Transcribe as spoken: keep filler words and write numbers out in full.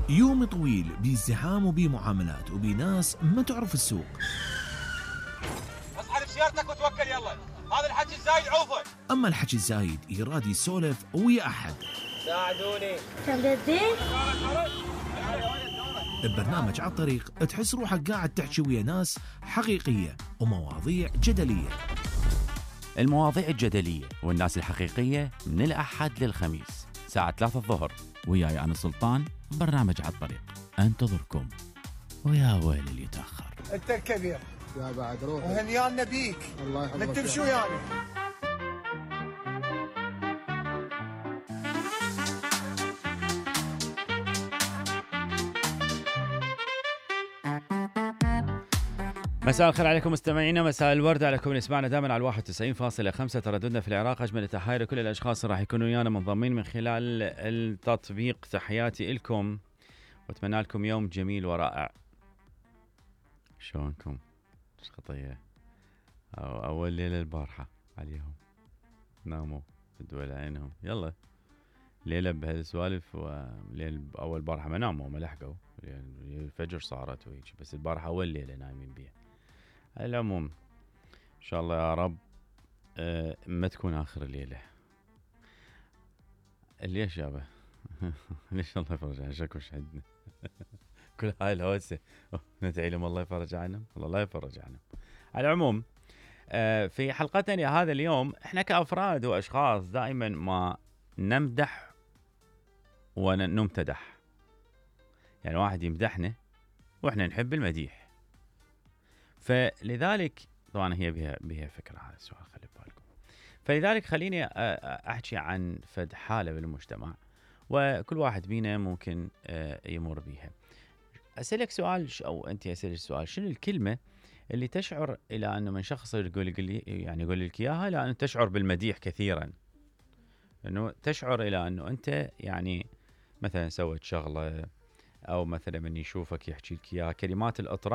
يوم طويل بازدحام وبمعاملات وبناس ما تعرف السوق. اصحى بسيارتك وتوكل يلا، هذا الحكي الزايد عوفه. اما الحكي الزايد يراد يسولف ويا احد. ساعدوني. تمددي؟ ببرنامج على الطريق تحس روحك قاعد تحكي ويا ناس حقيقية ومواضيع جدلية. المواضيع الجدلية والناس الحقيقية من الأحد للخميس ساعة ثلاثة الظهر، وياي أنا سلطان. برنامج على الطريق انتظركم، ويا ويل اللي يتأخر. انت الكبير يا بعد روح وهنيانا بيك. الله يحفظك. ما تمشوا يعني. مساء الخير عليكم مستمعينا، مساء الورد عليكم اللي يسمعنا دائما على واحد وتسعين فاصلة خمسة ترددنا في العراق. اجمل التحايا لكل الاشخاص اللي راح يكونوا ويانا منضمين من خلال التطبيق. تحياتي لكم واتمنى لكم يوم جميل ورائع. شلونكم؟ ايش خطيه؟ أو اول ليله البارحه عليهم ناموا فدوا عينهم. يلا ليله بهالسوالف، وليل اول بارحه ما ناموا ما لحقوا، الفجر صارت وهيك، بس البارحه اول ليله نايمين بيها. على العموم ان شاء الله يا رب أه ما تكون اخر الليله. ليش يابا؟ ليش الله يفرج عنا شكوش عندنا. كل هاي الهوسه ندعي لهم الله يفرج عنهم، الله لا يفرج عنهم. على العموم أه في حلقتنا هذا اليوم احنا كافراد واشخاص دائما ما نمدح ونمتدح، يعني واحد يمدحنا واحنا نحب المديح، فلذلك طبعا هي بها بها فكره هذا السؤال خلي بالكم. فلذلك خليني احكي عن فد حاله بالمجتمع وكل واحد بينا ممكن يمر بيها. اسالك سؤال او انت اسالك سؤال، شنو الكلمه اللي تشعر الى انه من شخص يقول لي يعني يقول لك اياها لانه تشعر بالمديح كثيرا، انه تشعر الى انه انت يعني مثلا سويت شغله، او مثلا من يشوفك يحكي لك اياها كلمات الاطراء